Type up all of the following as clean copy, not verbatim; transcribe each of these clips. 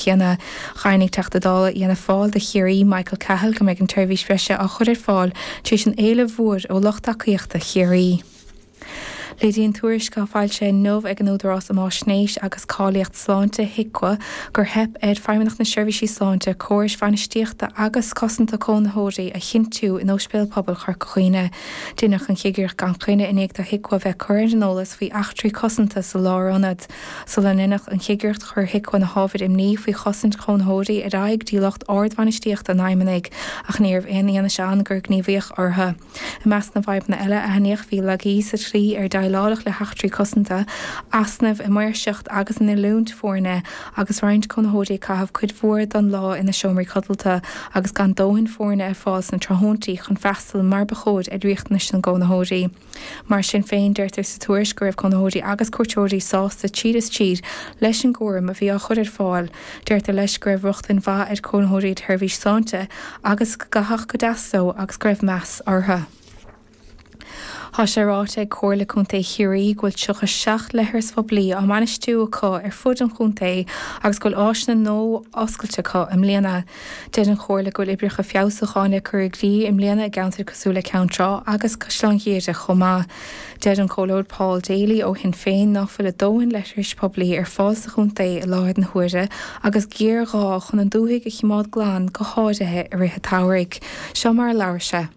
céanna. Dhaingnigh Teachta Dála Fhianna Fáil do Chiarraí, Michael Cahill, go mbeidh an tseirbhís bhreise á chur ar fáil tar éis an éilimh mhóir ó lucht tacaíochta Chiarraí. Léiríonn tuairisc atá foilsithe inniu ag an Údarás um Fháisnéis agus Cáilíocht Sláinte, HIQA, gur theip ar Feidhmeannacht na Seirbhísí Sláinte córais bhainistíochta agus cosanta cónaitheoirí a chinntiú in Ospidéal Pobail Chorca Dhuibhne. Deineadh an chigireacht gan choinne i ndiaidh do HIQA bheith curtha ar an eolas faoi eachtraí cosanta sa lárionad. Sula ndeineadh an chigireacht chuir HIQA na hábhair imní faoi chosaint chónaitheoirí ar aghaidh go dtí lucht ardbhainistíochta an Fheidhmeannaigh ach ní raibh aon fhianaise ann gur gníomhaíodh orthu. I measc na bhfadhbanna eile a aithníodh bhí laigí sa tslí ar déileáladh le heachtraí cosanta, easnaimh i maoirseacht agus in oiliúint foirne, agus roinnt cónaitheoirí ag caitheamh cuid mhór den lá ina seomraí codlata agus gan dóthain foirne ar fáil sna tráthnóntaí chun freastal mar ba chóir ar riachtanais na gcónaitheoirí. Mar sin féin, deirtear sa tuairisc go raibh cónaitheoirí agus cuairteoirí sásta tríd is tríd leis an gcúram a bhí á chur ar fáil. Deirtear leis go raibh rochtain mhaith ag cónaitheoirí ar sheirbhís sláinte agus go gcaitheadh go deas leo agus go raibh meas orthu. Tá sé ráite ag Comhairle Contae Chiarraí go bhfuil 37 leithreas phoiblí á mbainistiú acu ar fud an chontae agus go bhfuil áiseanna nua oscailte acu i mbliana. Deir an Chomhairle go bhfuil oibreacha feabhsúcháin le cur i gcrích i mbliana i gceantair cosúil le Ceann Trá agus Caisleán Ghiarra chomh maith. Deir an Comhairleoir Paul Daly ó Shinn Féin ná fuil a dóthain leithris poiblí ar fáil sa chontae i láthair na huaire agus géarghá chun an dúthaigh a chimeád glan go háirithe i rith an tsamhraidh. Seo mar a labhair sé.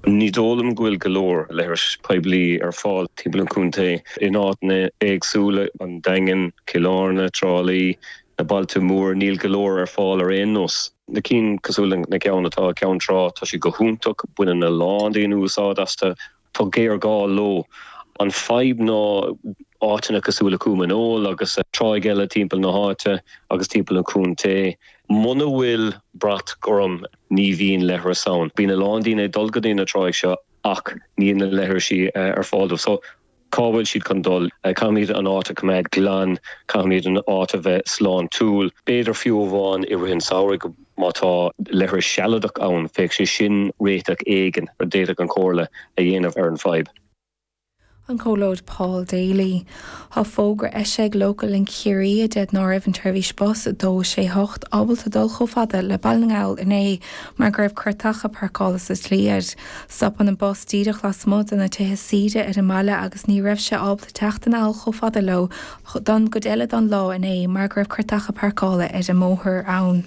Ní dóigh liom go bhfuil go leor leithris poiblí ar fáil timpeall an chontae in áiteanna éagsúla, an Daingean, Cill Airne, Trá Lí, na bailte móra, níl go leor ar fáil ar aon nós. Na cinn cosúil le na ceann atá i gCeann Trá, tá siad go hiontach, baineann a lán daoine úsáid astu, tá géarghá leo. An fadhb ná áiteanna cosúil le Cúm an Óil agus tráigh eile timpeall na háite agus timpeall an chontae. Muna bhfuil brat gorm ní bhíonn leithreas ann. Bíonn a lán daoine ag dul go dtí na tráigh seo ach níl na leithrisí ar fáil dóibh. So cá bhfuil siad chun dul? Caithfimid an áit a choimeád glan, caithfimid an áit a bheith sláintiúil. B'fhéidir fiú amháin i rith an samhraidh má tá leithreas sealadach ann, bheadh sé sin réiteach éigin a d'fhéadfadh an Chomhairle a dhéanamh ar an bhfadhb. An Comhairleoir Paul Daly. Tá fógra eisithe ag Local Link Chiarraí a deir ná raibh an tseirbhís bus 268 ábalta dul chomh fada le Baile na nGall inné mar go raibh cairteacha páirceála sa tslí air. Stopann an bus díreach lasmuigh de na tithe saoire ar an mbaile agus ní raibh sé ábalta teacht anall chomh fada leo don gcuid eile don lá inné mar go raibh cairteacha páirceála ar an mbóthar ann.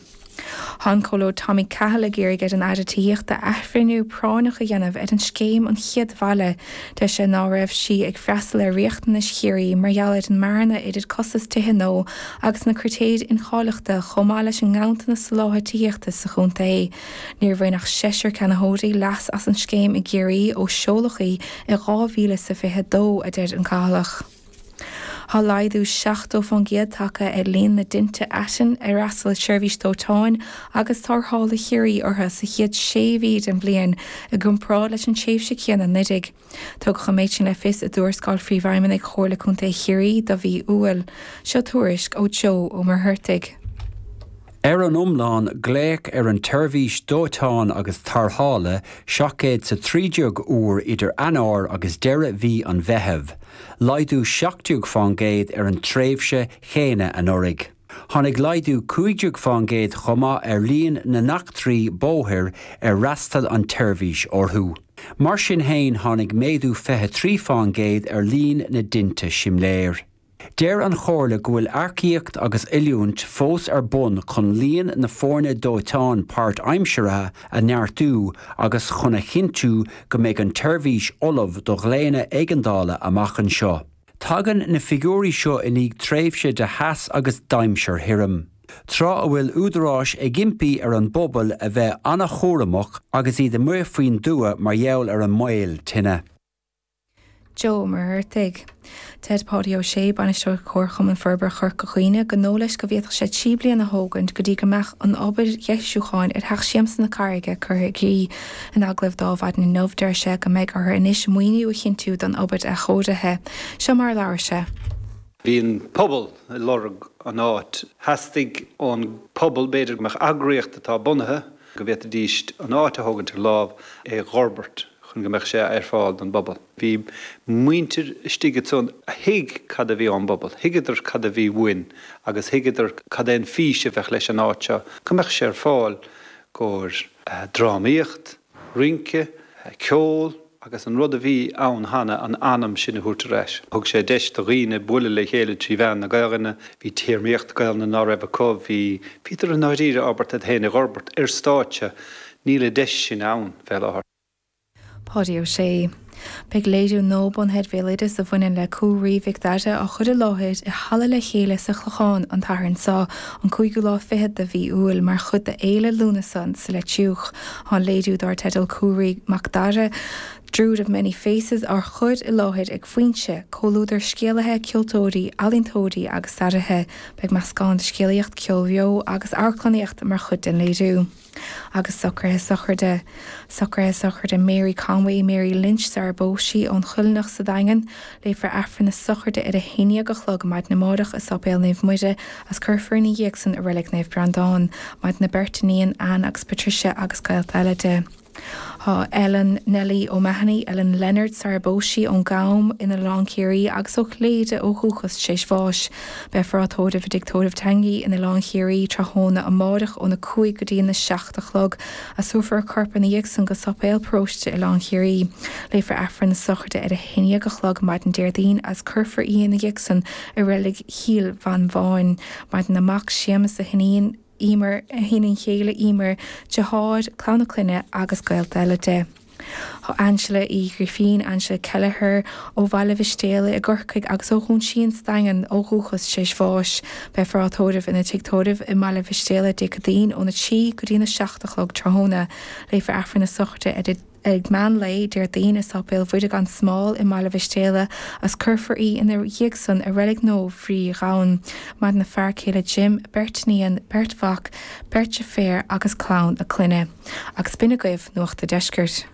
Tá an Comhairleoir Tommy Cahill ag iarraidh ar an Aire Tithíochta athbhreithniú práinneach a dhéanamh ar an scéim An Chéad Bhaile. Deir sé ná raibh sí ag freastal ar riachtanais Chiarraí mar gheall ar an mbearna idir costas tithe nua agus na critéir incháilitheachta chomh maith leis an nganntanas soláthair tithíochta sa chontae. Níor bhain ach seisear ceannaitheoirí leas as an scéim i gCiarraí ó seoladh í i 2022, a deir an Cathallaigh. Tá laghdú 70% tagtha ar líon na dtinte aitinn ar fhreastail Seirbhís Dóiteáin agus Tarrthála Chiarraí orthu sa chéad sé mhí den bhliain i gcomparáid leis an tréimhse chéanna anuraidh. Tugadh an méid sin le fios i dtuarascáil Phríomhfheidhmeannaigh Chomhairle Contae Chiarraí do mhí Iúil. Seo tuairisc ó Joe Ó Muircheartaigh. Ar an iomlán, glaodh ar an tseirbhís dóiteáin agus tarrthála 713 uair idir Eanáir agus deireadh mhí an Mheithimh, laghdú 17 fán gcéad ar an tréimhse chéanna anuraidh. Tháinig laghdú 15 fán gcéad chomh maith ar líon na n-eachtraí bóthair ar fhreastail an tseirbhís orthu. Mar sin féin, tháinig méadú 23 fán gcéad ar líon na dtinte simléir. Deir an Chomhairle go bhfuil earcaíocht agus oiliúint fós ar bun chun líon na foirne dóiteáin páirtaimseartha a neartú agus chun a chinntiú go mbeidh an tseirbhís ullamh do ghlaonna éigeandála amach anseo. Tagann na figiúirí seo i ndiaidh tréimhse de theas agus d'aimsir thirim, tráth a bhfuil údaráis ag impí ar an bpobal a bheith an-chúramach agus iad amuigh faoin dtuath mar gheall ar an mbaol tine. Joe Ó Muircheartaigh. Deir Páidí Ó Sé, Bainisteoir Chomharchumann Forbartha Chorca Dhuibhne, gur dóigh leis go bhféadfadh sé 3 bliana a thógaint go dtí go mbeadh an obair dheisiúcháin ar Theach Siamsa na Carraige curtha i gcrích. In agallamh dó ar maidin inniu, deir sé go mbeidh orthu anois maoiniú a chinntiú don obair athchóirithe. Seo mar a labhair sé. Bhí an pobal ag lorg an áit. Theastaigh ón pobal, b'fhéidir, go mbeadh eagraíocht atá bunaithe, go bhféadfaidís an áit a thógaint ar lámh, é dh'fhorbairt. chun go mbeadh sé ar fáil don bpobal. Bhí muintir istigh ansan a thuig cad a bhí ón bpobal, thuigeadar cad a bhí uainn agus thuigeadar cad é an fís a bheadh leis an áit seo, go mbeadh sé ar fáil gcomhair drámaíocht, rince, ceol agus an rud a bhí ann cheana, an anam sin a thabhairt ar ais. Thug sé deis do dhaoine bualadh le chéile trí mheán na Gaelainne, bhí téarmaíocht Gaelainne ná raibh acu, bhí, bhíodar i ndáiríre ábalta iad féin a dh'fhorbairt ar stáitse, níl an deis sin ann fé láthair. Páidí Ó Sé. Beidh léiriú nua bunaithe ar bhéaloideas a bhaineann le Cú Raoi Mhic Dara á chur i láthair i Halla Le Chéile sa Chlochán an tSathairn seo, an cúigiú lá fichead de mhí Iúil, mar chuid de Fhéile Lúnasa sa Leitriúch. Tá an léiriú dár teideal Cú Raoi Mac Dara, Druid of Many Faces á chur i láthair ag Foinse, comhluadar scéalaithe, ceoltóirí, ealaíontóirí agus staraithe. Beidh meascán de scéalaíocht, ceol beo agus amharclannaíocht mar chuid den léiriú. Agus socruithe sochraide. Socruithe sochraide Mary Conway, Mary Lynch sar ar phós sí, ón Choilleanach sa Daingean. Léifear Aifreann na sochraide ar a haon dhéag a chlog maidin amárach i Sáipéal Naomh Muire agus cuirfear ina dhiaidh san i Reilig Naomh Breandán. Maireann a beirt iníon, Anne agus Patricia agus gaolta eile di. Tá Ellen Nellie O'Mahony, Ellen Leonard sar ar phós sí, ón gCam in Oileán Ciarraí agus ó Chléire ó dhúchas tar éis bháis. Beifear á tórramh i dTigh Tórraimh Tanguy in Oileán Chiarraí tráthnóna amáireach óna 5 go dtí an 7 a chlog agus tabharfar a corp ina dhiaidh san go Sáipéal Paróiste Oileán Chiarraí. Léifear Aifreann na sochraide ar 11 a chlog maidin Déardaoin agus cuirfear í ina dhiaidh san i Reilig Chill Mhantáin. Maireann a mac Séamus, a hiníon. Emer, a hiníon chéile Emer, deartháir, clann a clainne agus gaolta eile di. Tá Angela Uí Ghrifín, Angela Kelleher, ó Bhaile Mhistéala i gCorcaigh agus ó Dhún Síon sa Daingean ó dhúchas tar éis bháis. Beifear á tórramh ina tigh tórraimh i mBaile Mhistéala Dé Céadaoin óna 3 go dtí na 7 a chlog tráthnóna. Léifear Aifreann na sochraide ar a. Ag meán lae Déardaoin i Sáipéal Mhuire gan Smál i mBaile Mhistéala agus cuirfear í ina dhiaidh san i Reilig Naomh Bhríd Ghabhann. Maireann a fear céile Jim, beirt iníon, beirt mhac, beirt deirféar agus clann a clainne. Agus b'in agaibh Nuacht a' Deiscirt.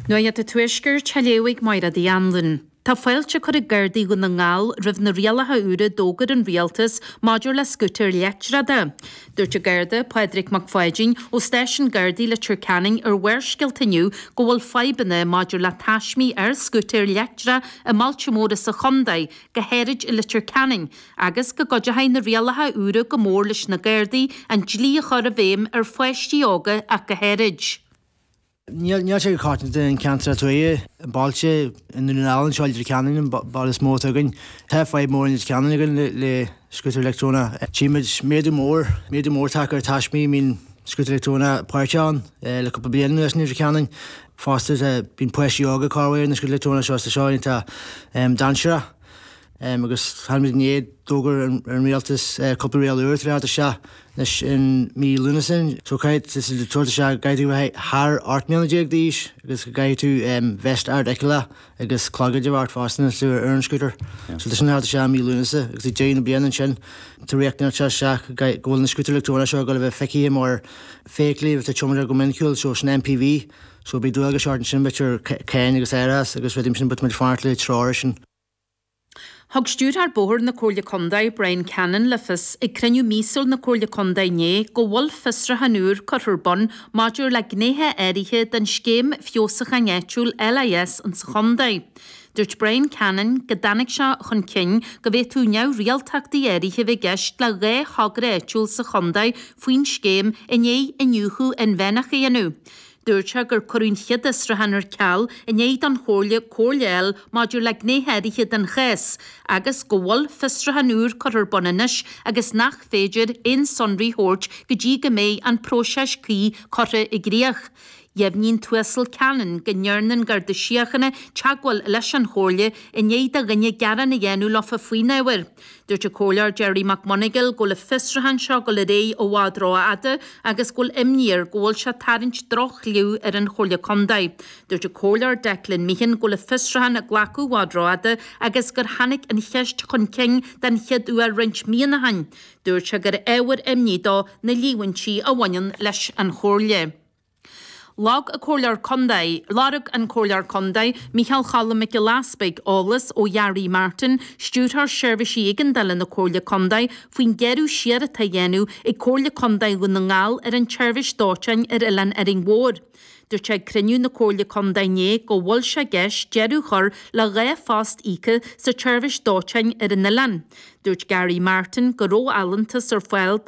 Nuacht an Tuaiscirt á léamh ag Máire Uí Anluain. Tá fáilte curtha ag Gardaí Dhún na nGall roimh na rialacha úra a d'fhógair an Rialtas maidir le scútair leictreacha. Dúirt an Garda Pádraig Mac Pháidín ó Stáisiún Gardaí Leitir Ceanainn ar Bharrscéalta inniu go bhfuil fadhbanna maidir le taismí ar scútair leictreach i mbailte móra sa chontae, go háirid i Leitir Ceanainn, agus go gcuideoidh na rialacha úra go mór leis na Gardaí an dlí a chur i bhfeidhm ar pháistí óga ach go háirid. Níl sé go coitianta in ceantar tuaithe, i mbailte i nDún na nGall anseo i Leitir Ceanainn, an baile is mó atá againn. Tá fadhb mór i Leitir Ceanainn againn le scútar leictreonach. Tchímid méadú mór, méadú mór tagtha ar taismí a mbíonn scútar leictreonach páirteach ann le cúpla bliain anuas i Leitir Ceanainn. Fosta bíonn páistí óga ag cur ar na scútair leictreonach seo, tá seo iontach dainséarach. Agus tháinig muid inné, d'fhógair an rialtas cúpla riail úr atá le theacht isteach anois in mí Lúnasa. So caithfidh tú tabhairt isteach go gcaithfidh tú a bheith thar 18 mbliana d'aois agus go gcaithfidh tú veist ard-fheiceálach agus clogaid a bheith ort fosta nuair atá tú ar an scútar. So tá sin le theacht isteach i mí Lúnasa agus ag deireadh na bliana ansin tá riachtanas ag teacht isteach go bhfuil na scútair leictreonacha seo ag dul a bheith feicthe mar feithiclí atá tiomanta go minicúil, so sin MPV. So beidh dualgais ort ansin, b'fhéidir cáin agus árachas agus rudaí mar sin but tá muid ag fanacht le treoir sin. Thug Stiúrthóir Bóthair na Comhairle Contae, Brian Cannon, le fios ag cruinniú míosúil na Comhairle Contae inné go bhfuil fiosrúchán úr curtha ar bun maidir le gnéithe áirithe den Scéim Feabhsúcháin Áitiúil, LIS, insa chontae. Dúirt Brian Cannon go dtáinig sé chun cinn go bhféadfadh neamhrialtachtaí áirithe a bheith i gceist le dhá thogra áitiúil sa chontae faoin scéim i ndiaidh iniúchadh inmheánach a dhéanamh. Dúirt sé gur cuireadh an chéad fhiosrúchán ar ceal i ndiaidh don Chomhairle comhairle a fháil maidir le gnéithe áirithe den chás agus go bhfuil fiosrúchán úr curtha ar bun anois agus nach féidir aon sonraí a thabhairt go dtí go mbeidh an próiseas cuí curtha i gcrích. Dheimhnigh an tUasal Cannon go ndearna an Garda Síochána teagmháil leis an Chomhairle i ndiaidh do dhuine gearán a dhéanamh leofa faoin ábhar. Dúirt an Comhairleoir Gerry McMonagall go bhfuil an fiosrúchán seo ag dul ar aghaidh i bhfad rófhada agus go bhfuil imní air go bhfuil sé ag tarraingt droch-chliú ar an Chomhairle Contae. Dúirt an Comhairleoir Declan Meehan go bhfuil an fiosrúchán ag glacadh i bhfad rófhada agus gur tháinig an cheist chun cinn den chéad uair roinnt míonna ó shin. Dúirt sé gur ábhar imní dó na líomhaintí a bhaineann leis an Chomhairle. Lorg an Comhairleoir Contae, Lorg an Comhairleoir Contae, Micheál Choilm Mac Giolla Easpaig, eolas ó Gary Martin, Stiúrthóir Seirbhísí Éigeandála na Comhairle Contae, faoin gearradh siar atá á dhéanamh ag Comhairle Contae Dhún na nGall ar an tseirbhís dóiteáin ar Oileán Árainn Mhór. Dúirt sé ag cruinniú na Comhairle Contae inné go bhfuil sé i gceist deireadh a chur le 2 phost íoctha sa tseirbhís dóiteáin ar an oileán. Dúirt Gary Martin go raibh allúntas ar fáil do.